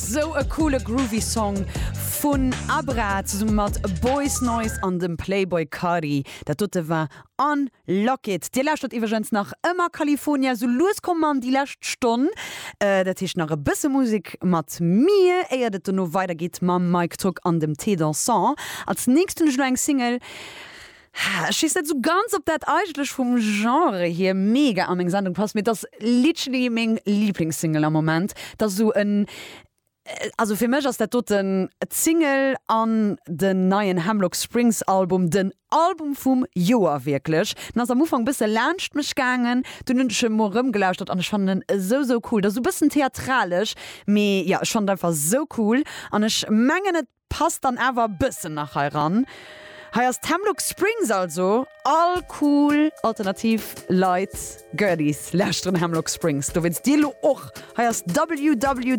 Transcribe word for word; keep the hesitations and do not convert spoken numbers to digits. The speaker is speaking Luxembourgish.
sou e coole groovy Song vun Abra zesumme mat Boys Noize an dem Playboi Carti. Dat dote war Unlock It. Dir lauschtert iwwregens nach ëmmer California, sou lues komme mer an déi lescht Stonn. Dat heescht nach e bësse Musek mat mir, éiert et dono weidergeet mam Mike Togg an dem Thé Dansant. Als nächst hunn ech elo eng Single, ech weess net sou ganz, ob dat eigentlech vum Genre hier mega a meng Sendung passt, mee et ass literally meng Liblingssingle am Moment. Et ass sou en, also fir mech ass dat doten d'Single an den neien Hemlock Springs Album den Album vum Joer wierklech. Den ass am Ufank bësse laanscht mech gaangen, dunn hunn ech e mol erëmgelauschtert an ech fannen en esou sou cool. Et ass sou bëssen theatralesch, mee jo, ech fannen et einfach sou cool an ech mengen et passt dann awer e bëssen nach hei ran. Hei ass d'Hemlock Springs also all cool alternativ Leit, Girlies lauschteren Hemlock Springs, dowéinst dir lo och. Hei ass WWWWW.